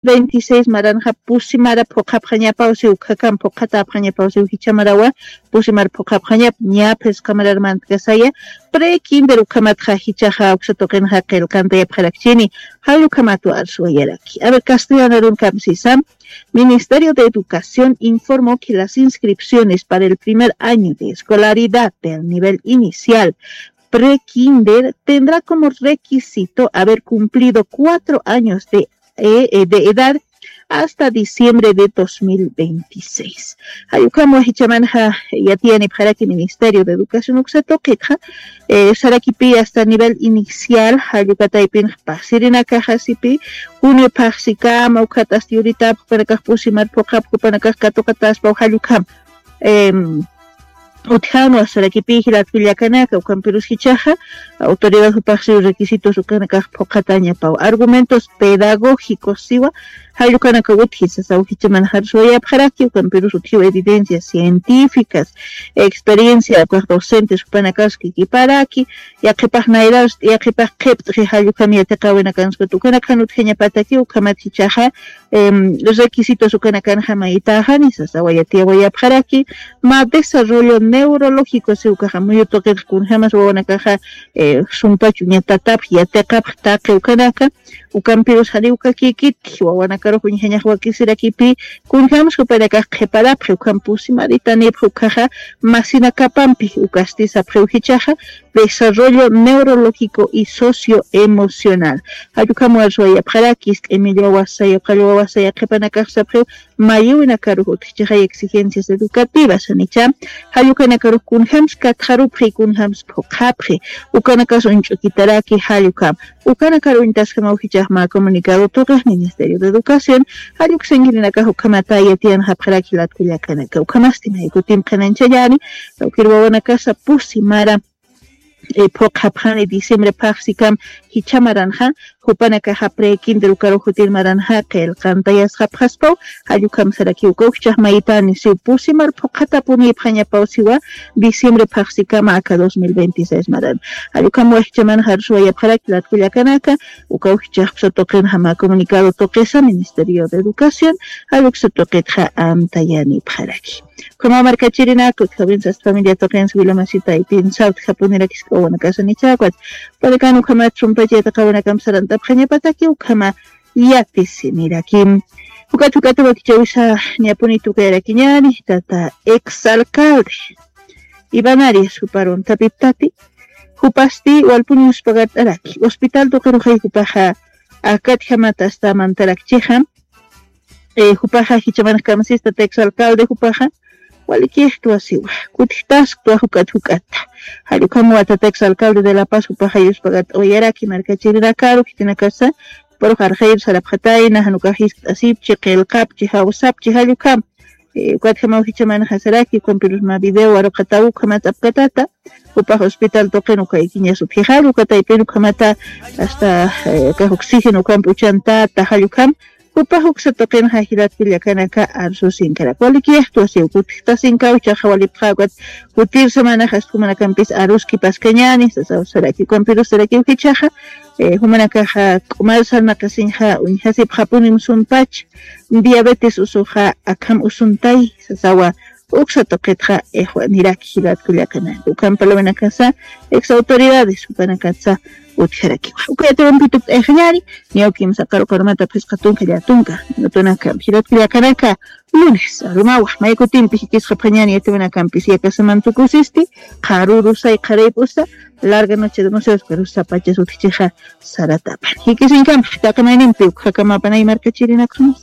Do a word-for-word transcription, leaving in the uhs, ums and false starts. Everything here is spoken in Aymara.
veintiséis maranxa pusimara phuqhapxañapaw siw, ukhakamp phuqhatäpxañapaw siw, jichhamarawa pusimar phuqhapxañap ña phisqa marar mantkasaya, prekinder ukhamatxa jichhaxa uksa tuqinxa qillqantayapxarakchini. Jall ukhamatwa arsuwayaraki. A ver, castellano arunkamp sisam. Ministerio de Educación informó que las inscripciones para el primer año de escolaridad del nivel inicial prekinder tendrá como requisito haber cumplido cuatro años de, eh, eh, de edad hasta diciembre de dos mil veintiséis. Jall ukham jichhamanxa yatiyanipxaraki Ministerio de Educación uksa tuqitxa, eh, sarakipi hasta nivel inicial, jall uka taypinx pasirinakaxa sipi, junio phaxsikama, ukhat hasta yurita jupanakax pusimar phuqhap, jupanakax katuqataspaw jall ukham. Em, utjanwa sarakipi jilat kullakanaka, ukampirus jichhaxa autoridad jupax siw requisitos ukanakax phuqhatañapaw. Argumentos pedagógicos siwa, jall ukanaka utji sasaw jichhamanxa arsuwayapxaraki, ukampirus utjiw evidencias científicas, experiencia ukax docentes jupanakas kikiparaki, yaqhipax nayras, yaqhipax qhipt'xi jall ukham yatiqäwinakanskuta, ukanakxan utjañapataki, ukhamat jichhaxa, em, requisitos ukanakanxa maytäxani sasawa yatiyawayapxaraki, mä desarrollo neurológico siw ukaxa, muyu tuqitx kunjämas wawanakaxa, eh, sumpach uñatatapx, yatiqapx taqi ukanaka, ukampirus janiw kakikitki, wawanakarux uñjañax wakisirakipi, kunjämsa jupanakax qhiparapxi, ukham pusimaritanipxi, ukhaxa masinakapampi ukasti sapxiw jichhaxa, desarrollo neurológico y socioemocional. Jall ukham arsuwayapxaraki, ist'imilla wawasaya, qallwa wawasaya qhipanakax sapxiw, mayïwinakarux utjchixay exigencias educativas, janicha, jall ukanakarux kunjämsa katxarupxi, kunjämsa phuqhapxi, ukanakas uñch'ukitaraki, jall ukham. Ukanakar uñtasjamaw jichhax mä comunicado tuqix Ministerio de Educación, jall uksa inkirinakax ukhamata yatiyanxapxaraki jilat kullakanaka. Ukhamasti may kutimp qhanañchallani, tawkir wawanakasa pusimara, eh, phuqhapxani diciembre phaxsikam jichha maranxa, jupanakaxa prekinder ukarux jutir maranxa qillqantayasxapxaspaw, jall ukham sarakiw uka ukchhax maytani siw pusimar phuqhatapunipxañapaw siwa, diciembre phaxsikama aka dos mil veintiséis maran. Jall ukham jichhamanxa arsuwayapxaraki jilat kullakanaka, uka ukchhax uksa tuqinxa mä comunicado tuqisa Ministerio de Educación, jall uksa tuqitxa amtayanipxaraki. Ukhamaw markachirinaka, utjawinsa hasta familia tuqinsa, wila masita, taypinsa, utjapunirakis wawanakasa nichhawa, ukat, panakan ukhamat sumpach yatiqäwinakamp sarantapxañapataki, ukhama yatisiniraki. Ukat, ukat wakichäwisa ñapuni tukayarakiñäni, tata ex alcalde Iván Arias juparu uñtapiptati, jupasti walpun yuspagart'araki, hospital tuqirux jupaxa akatjamata hasta mantarakchixa, eh, jupaxa jichhamanx kamsista tata ex alcalde jupaxa, walikixtwa siwa, kutjtasktwa juk'at juk'atta. Jall ukham tata ex alcalde de La Paz jupaxa yuspagart'awayaraki markachirinakaru, khitinakasa, juparux arxayir sarapxatayna, jan ukax jiskt'asipchi, qillqapchi, jawsapchi, jall ukham. Eh, ukatjamaw jichhamanxa saraki, ukampirus mä video waruqataw ukhamat apkatata, jupax hospital tuqin ukaykiñas utji jall uka taypin ukhamata, hasta, eh, akax oxígeno ukamp uchantata, jall ukham, jupax uksa tuqinxa jilat kullakanaka arsusinkarak. Walikixtwa siw, kutjtasinkaw, jichhaxa walipxä ukat, jutir semanax hasta jumanakampis aruskipaskañäni, sasaw saraki, ukampirus sarakiw jichhaxa, eh, jumanakaxa k'umar sarnaqasiñxa uñjasipxapunim sumpach, diabetes usuxa akham usuntay, sasawa, uksa tuqitxa, eh, juaniraki jilat kullakanaka. Ukham parlawinakasa, ex autoridades, jupanakatsa utjarakiwa. Uka yatiwampi tukt'ayxañäni, niyaw kimsa qaru qarumata phisqa tunka llätunka, minutunakamp jilat kullakanaka, lunes arumawa, may kutimpi jikisxapxañäni yatiwinakampis, yakasaman tukusisti, qharürusay qharaypusa, larga noche de museos, pero sapachas utjchixa saratapan. Jikisiñkampi, taqi maynimpi, ukhakamapana markachirinakxamas.